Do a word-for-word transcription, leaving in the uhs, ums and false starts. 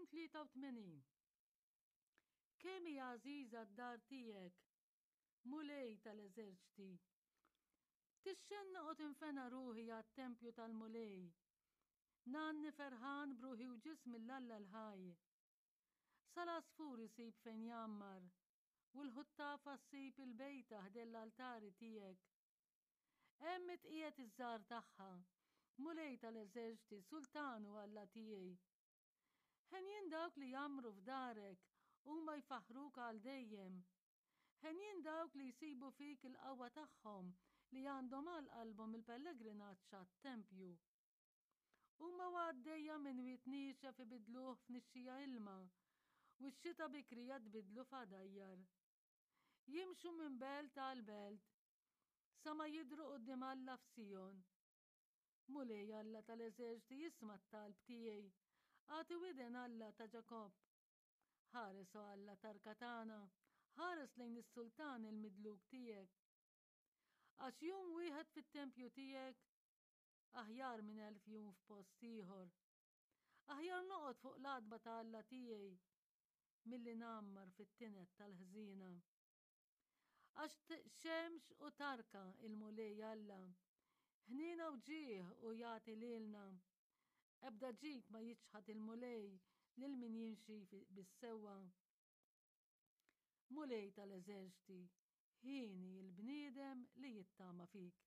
Salm tlieta u tmenin. Kemm hija għażiża d-dar tiegħek, Mulej tal-eżerċti. Tixxennaq u tinfena ruħi għat-tempju tal-Mulej. Ngħanni ferħan b'ruħi u ġismi 'l Alla l-ħaj. Sal-għasfur isib fejn jgħammar, u l-ħuttafa ssib il-bejta ħdejn l-altari tiegħek. Hemm tqiegħed iż-żgħar tagħha, Mulej tal-eżerċti, sultan u Alla tiegħi. Henjin dawk li jgħammru f'darek, huma jfaħruk għal dejjem. Henjin dawk li jsibu fik il-qawwa tagħhom, li għandhom għal qalbhom il-pellegrinaġġ għat-tempju. Huma għaddejja minn wied niexef ibidluh f'nixxija ilma, u x-xita bikrija tbidlu f'għadajjar. Jimxu minn belt għal belt, sa ma jidru quddiem Alla f'Sijon. Mulej Alla tal-eżerċti, isma' t-talb tiegħi, agħti widen, Alla ta' Ġakobb. Ħares, o Alla tarka tagħna, ħares lejn is-sultan il-midluk tiegħek. Għax jum wieħed fit-tempju tiegħek aħjar minn elf jum f'post ieħor. Aħjar noqgħod fuq l-għatba ta' Alla tiegħi milli ngħammar fit-tined tal-ħżiena. Għax xemx u tarka il-Mulej Alla, ħnina u ġieħ u jagħti lilna. Ebda ġid ma jiċħad il-Mulej lil min jimxi bis-sewwa. Mulej tal-eżerċti, hieni il-bniedem li jittama fik.